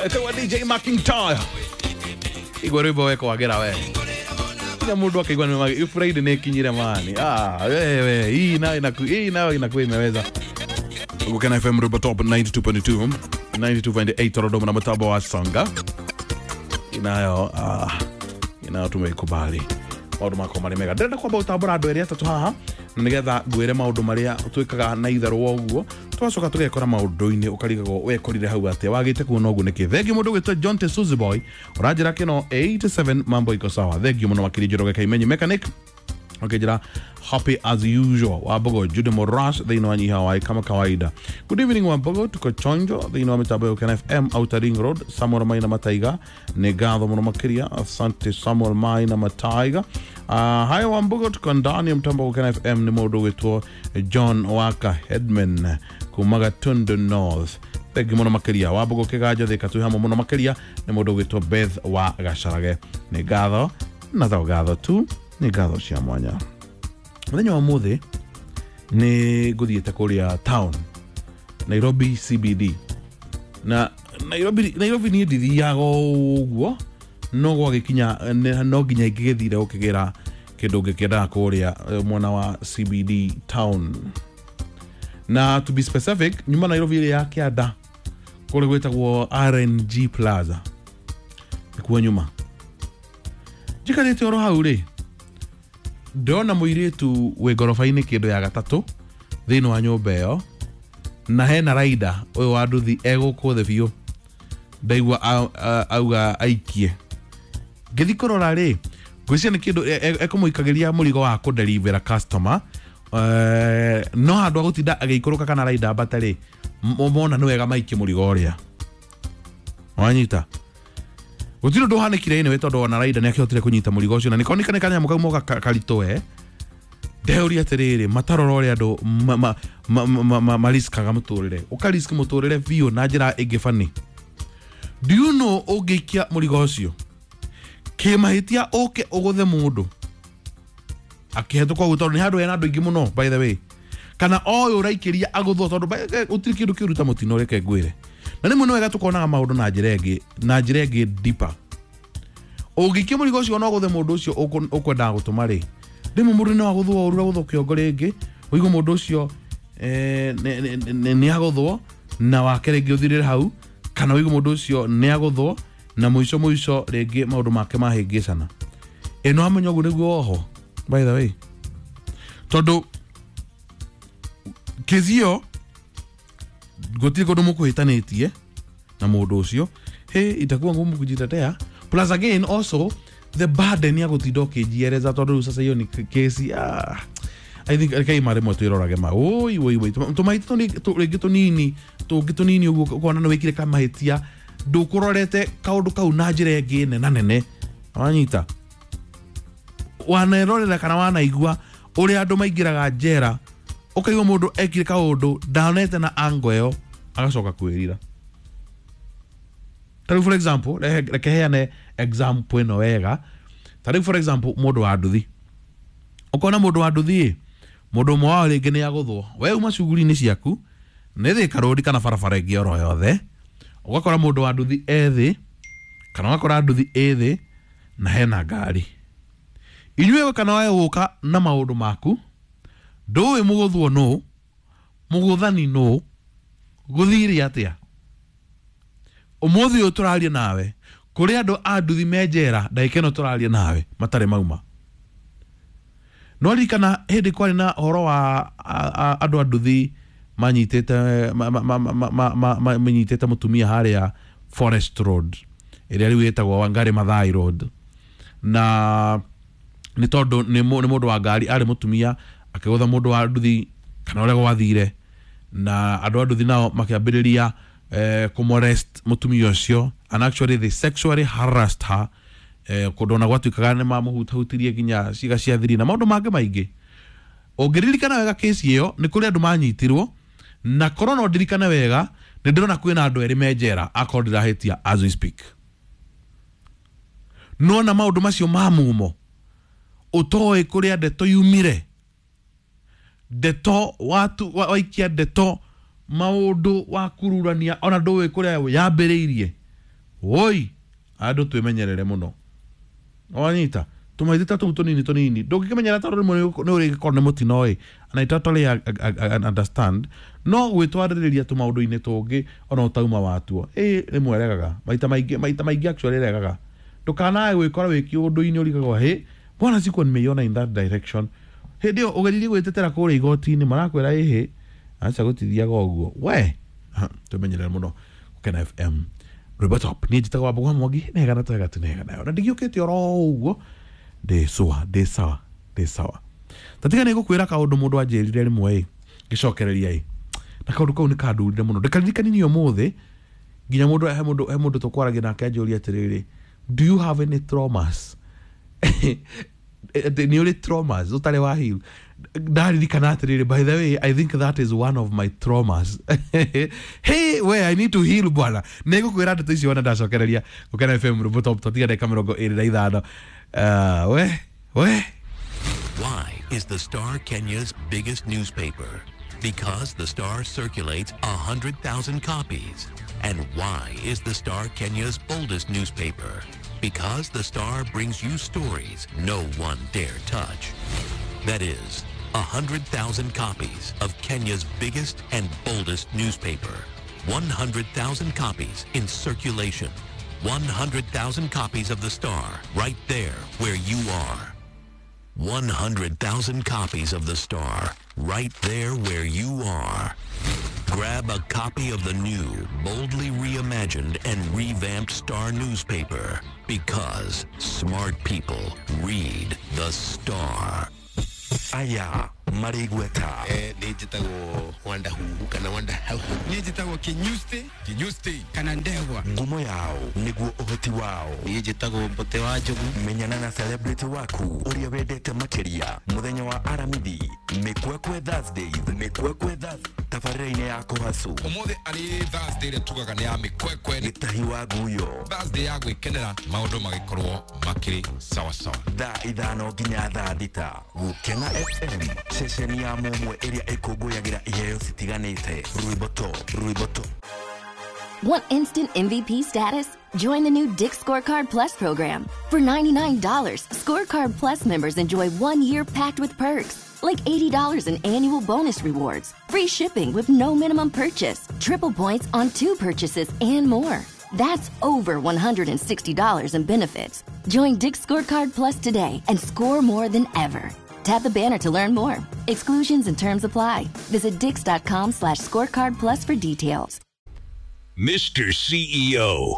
Etagwo DJ McIntyre. Igua rwimbo wekwagĩra we nginya mũndũ akaigua nĩ Friday nĩ ĩkinyire mani. Ah, wewe hii nayo inaku hii nayo inakuwa imeweza. Gukena FM Rwimbo Top 92.2 92.8 Dodoma na mtambo wa Songa inayo inayo tumeikubali maundu makwa marĩ mega. Ndĩrenda kwamba gũtambũra andũ erĩ atatũ haha na nĩgetha ngwĩre maũndũ marĩa twĩkaga na itherũ wa ũguo twacoka tũgekora maũndũ-inĩ ũkarigagwo wekorire hau atĩa wagĩte kuona ũguo nĩkĩ. Thengiũ mũndũ ũgwĩtwo John Tesuzi Boy ũranjĩra kĩno 87 mambo iko sawa. Thengiũ mũno makĩria Njoroge Kaimenyi mechanic okejira happy as usual. Wambogo Jude Morash thĩinĩ wa Nyiha wa kama kawaida. Good evening Wambogo, tuko chonjo thĩinĩ wa mitambo ya Ukena FM Outer Ring Road. Samuel Maina Mataiga nĩ ngatho mũno makĩria, asante Samuel Maina Mataiga. Haya Wambogo, tuko ndani ya mtambo wa Ukena FM. Nĩ mũndũ ũgwĩtwo John Waka Headman kuma Gatundu North. Thengi mũno makĩria Wambogo Kĩganjo Thika twĩ hamwe mũno makĩria. Nĩ mũndũ ũgwĩtwo Beth wa Gacarage, nĩ ngatho na to ngatho tu, nĩ ngatho cia mwanya. Mũthenya wa mũthĩ nĩ ngũthiĩte kũrĩa town Nairobi CBD na Nairobi niĩ ndithiaga ũguo no gwagĩkinya no nginya ingĩgĩthire gũkĩgĩra kĩndũ ngĩkĩendaga kũrĩa mwena wa CBD town. Na to be specific, nyuma Nairobi ĩrĩa ya kĩanda kũrĩa gwĩtagwo RNG Plaza nĩkuo nyuma njikarĩte oro hau rĩ, ndĩrona mũirĩtu wĩ ngoroba-inĩ kĩndũ ya gatatũ thĩinĩ wa nyũmba ĩyo na hena raida ũyũ wa nduthi egũkũ thĩ biũ ndaigua auga aikie. Ngĩthiĩ kũrora rĩ, ngwĩciria nĩ kĩndũ ekũmũikagĩria mũrigo wa kũdelivera customer, no handũ ha gũtinda agĩikũrũka kana raida ambate rĩ, mona nĩ wega maikie mũrigo ũrĩa wanyita. Gũtirĩ ũndũ ũhanĩkire anyway tondũ ona raida nĩ akĩhotire kũnyita mũrigo ũcio na nĩkoneka nĩ kanyamũ kau moka karitũ we. Ndeuria atĩrĩrĩ, matarora ũrĩa andũ mariskaga mũtũrĩre, ũkarisk mũtũrĩre biũ na njĩra ĩngĩ bani. Do you know ũngĩikia mũrigo ũcio kĩmahĩtia ũke ũgũthe mũndũ akĩhetũka ũguo tondũ nĩ handũ hena andũ aingĩ mũno by the way, kana ũyũ ũraikĩria agũthwo tondũ gũtirĩ kĩndũ kĩũru ta mũtino reke ngwĩre. Na rĩmwe nĩ wega tũkonaga maũndũ na njĩra ĩngĩ, na njĩra ĩngĩ deeper. Ũngĩikia mũrigo ũcio no ũgũthe mũndũ ũcio ũkwendaga gũtũma rĩ, rĩmwe mũndũ no agũthwo ũru agũthwo kĩongo rĩngĩ, ũigue mũndũ ũcio nĩ agũthwo na wake rĩngĩ ũthirĩre hau, kana ũigue mũndũ ũcio nĩ agũthwo na mũico mũico rĩngĩ maũndũ make mahĩngĩcana. Ĩno amenya ũguo nĩguo oho by the way, tondũ kĩzio gũtirĩ kũndũ mũkũhĩtanĩtie na mũndũ ũcio, he itakuwa ngumu kujitetea. Plus again also the burden ya gũtinda ũkĩnjiereza tondũ rĩu sasa hiyo ni kesi. I think rekei ma rĩmwe twĩrorage ma oi oi oi tũmahĩtia rĩngĩ tũnini tũngĩ tũnini ũguo ũkona nĩ wĩkire kamahĩtia ndũkũrorete kaũndũ kau na njĩra ĩngĩ nena nene wanyita wanerorera kana wanaigua ũrĩa andũ maingĩraga njera ũkaigua mũndũ ekire kaũndũ ndonete na ango ĩyo agacoka kwĩrira. Tarĩu for example reke heane example ĩno wega. Tarĩu for example mũndũ wa nduthi, ũkona mũndũ wa nduthi mũndũ ũmwe wao rĩngĩ nĩ agũthwo, we uma cuguri-inĩ ciaku nĩ Thika Road kana barabara ĩngĩ oro yothe, ũgakora mũndũ wa nduthi e thĩ kana ũgakora nduthi ĩ thĩ na hena ngari. Inyuĩ kana we gũka na maũndũ maku ndũĩ mũgũthwo nũ, mũgũthani nũ, gũthire atĩa. Ũmũthĩ ũyũ tũraria nawe kũrĩ andũ a nduthi me njera ndagĩka ĩno tũraria nawe matarĩ mauma. No ririkana hĩndĩ kwarĩ na ũhoro wa andũ a nduthi manyitĩte manyitĩte mũtumia harĩa Forest Road ĩrĩa rĩu ĩtagwo Wangari Maathai Road, na nĩ tondũ nĩ mũndũ wa ngari arĩ mũtumia akĩgũtha mũndũ wa nduthi kana ũrĩa gwathire, na andũ a nduthi nao makĩambĩrĩria kũmolest mũtumia ũcio, and actually they sexually harassed her, kũndũ ona gwatuĩkaga nĩ mamũhutahutirie nginya ciĩga cia thiri na maũndũ mangĩ maingĩ. Ũngĩririkana wega kesi ĩyo nĩ kũrĩ andũ manyitirwo, na korwo no ndirikane wega nĩ ndĩrona kwĩna andũ erĩ me njera akorwo ndĩrahĩtia as we speak. Nona maũndũ macio ma mumo ũtoĩ kũrĩa ndeto yumire, ndeto watu waikia ndeto maũndũ wa kururania ona ndũĩ kũrĩa yambĩrĩirie. Woi, andũ twĩmenyerere mũno. Wanyita tũmaithĩ ta tũu tũnini tũnini ndũngĩkĩmenyera tondũ rĩmwe nĩ ũrĩgĩkorwo nĩ mũtino ĩ, and I totally understand, no gwĩtwarĩrĩria tũmaũndũ-inĩ tũngĩ ona ũtauma watuo ĩ rĩmwe regaga maita maingĩ, maita maingĩ actually regaga. Ndũkanae gwĩkora wĩ kĩũndũ-inĩ ũrigagwo hĩ bwana sikuwa nimeiona in that direction. Hĩndĩ ĩyo ũgeririe gwĩtetera kũrĩa igoti-inĩ marakwĩra ĩhĩ aca gũtithiaga ũguo we. Twĩmenyerere mũno. Gũkena FM rwĩmbo top, niĩ njĩtagwo Wambũgũ wa Mwangi, nega na twega tũnega nayo na ndigĩũkĩte oro ũguo, ndĩ cũa, ndĩ sawa, ndĩ sawa. Tatiga nĩ ngũkwĩra kaũndũ mũndũ anjĩrire rĩmwe ĩ ngĩcokereria ĩ, na kaũndũ kau nĩ kandurire mũno ndĩkaririkanirie ũmũthĩ nginya mũndũ he mũndũ he mũndũ tũkwaragia nake anjũria atĩrĩrĩ, do you have any traumas? Nĩ ũrĩ traumas ũtarĩ wa heal? Ndaririkana atĩrĩrĩ, by the way, I think that is one of my traumas. Hey we, I need to heal bwana. Nĩ ngũkwĩra ndeto icio wona ndacokereria. Gũkena FM rwĩmbo top, tatiga ndagĩka 25. We we. Why is the Star Kenya's biggest newspaper? Because the Star circulates 100,000 copies. And why is the Star Kenya's boldest newspaper? Because the Star brings you stories no one dare touch. That is, 100,000 copies of Kenya's biggest and boldest newspaper. 100,000 copies in circulation. 100,000 copies of the Star right there where you are. 100,000 copies of the Star right there where you are. Grab a copy of the new, boldly reimagined and revamped Star newspaper, because smart people read the Star. Aya marĩ igweta. Nĩ njĩtagwo Wanda Huhu kana Wanda Hau. Niĩ njĩtagwo Kinyusti. Kinyusti. Kana Ndegwa. Ngumo yao nĩguo ũhoti wao. Niĩ njĩtagwo Mbote wa Njogu. Menyana na celebrity waku ũrĩa wendete makĩria mũthenya wa Aramithi, Mĩkwekwe Thursdays, Mĩkwekwe Thursdays, tabarĩra-inĩ ya Kũhacu. Ũmũthĩ arĩ Thursday ĩrĩa tugaga nĩ ya mĩkwekwe. Gĩtahi wa nguyo. Thursday ya gwĩkenera maũndũ magĩkorwo makĩrĩ sawa sawa. Thaa 5 nginya thaa 6. Gũkena FM, ceceni ya mũmwe ĩrĩa ĩkũngũyagĩra iheo citiganĩte. Rwĩmbo top, rwĩmbo top. Want instant MVP status? Join the new Dick's Scorecard Plus program. For $99, Scorecard Plus members enjoy 1 year packed with perks, like $80 in annual bonus rewards, free shipping with no minimum purchase, triple points on 2 purchases, and more. That's over $160 in benefits. Join Dick's Scorecard Plus today and score more than ever. Tap the banner to learn more. Exclusions and terms apply. Visit dicks.com/scorecard plus for details. Mr. CEO.